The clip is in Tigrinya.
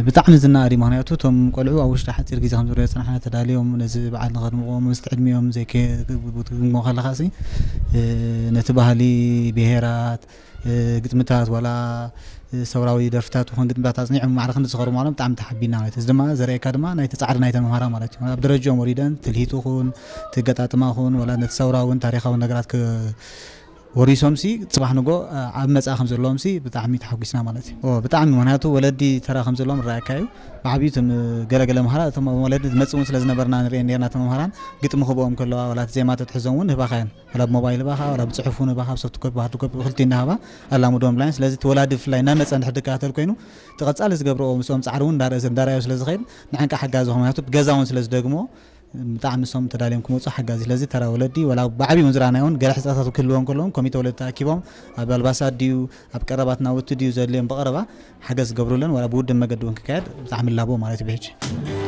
ብጣዕሚ ዝነኣድ እዩ። ምክንያቱ እቶም ቆልዑ ኣብ ውሽጢ ሓፂር ግዜ ከም ዝሪኦ ዝፀናሕና ተዳልዮም ነዚ በዓል ንኸድምቕዎ ምስቲ ዕድሚኦም ዘይከግምግሞ ከለኻ ሲ ነቲ ባህሊ፣ ብሄራት፣ ግጥምታት ዋላ ሰውራዊ ደርፍታት ይኹን ግጥምታት ኣፅኒዖም ማዕረ ክንዲ ዝኸሩ ምዃኖም ብጣዕሚ ተሓቢና ማለት እዩ። እዚ ድማ ዘርእየካ ድማ ናይቲ ፃዕሪ ናይተን መምሃራ ማለት እዩ። ኣብ ደረጃኦም ወሪደን ትልሂት ይኹን ትገጣጥማ ይኹን ዋላ ነቲ ሰውራውን ታሪኻውን ነገራት ወሪሶም ሲ ፅባሕ ንጎ ኣብ መፃ ከም ዘለዎም ሲ ብጣዕሚ ተሓጒስና ማለት እዩ። ብጣዕሚ ምክንያቱ ወለዲ ተራ ከም ዘለዎም ራእካ እዩ። ብዓብዩ እቶም ገለገለ መሃራ እቶም ወለዲ ዝመፅእ እውን ስለ ዝነበርና ንሪኤን ነርና እቶም መምሃራን ግጥሚ ክብኦም ከለዋ ዋላ እቲ ዜማ ተትሕዞም እውን ህባኻየን ዋላ ብሞባይል ህባኻ ዋላ ብፅሑፍ እውን ህባኻ ብሶፍት ኮፒ ብሃርድ ኮፒ ብክልቲኡ እንዳሃባ ኣላሙድዎም ብላይን። ስለዚ እቲ ወላዲ ብፍላይ እናመፀ እንድሕር ድከታተል ኮይኑ እቲ ቀፃሊ ዝገብርዎ ምስኦም ፃዕሪ እውን እንዳረኣዮ ስለ ዝኸይድ ንዓንካ ሓጋዚ ዝኾኑ ምክንያቱ ብገዛ እውን ስለ ዝደግሞ ብጣዕሚ ንሶም ተዳልዮም ክመፁ ሓጋዚ። ስለዚ ተራ ወለዲ ዋላ ብዓብዩ እውን ዝረኣናዮ እውን ገለ ሕፅረታት ክህልዎም ከለውን ኮሚተ ወለዲ ተኣኪቦም ኣብ ኣልባሳት ድዩ ኣብ ቀረባት ናውቲ ድዩ ዘድልዮም ብቐረባ ሓገዝ ዝገብሩለን ዋላ ብውድብ መገዲ እውን ክካየድ ብጣዕሚ ላቦ ማለት እዩ ብሕጂ።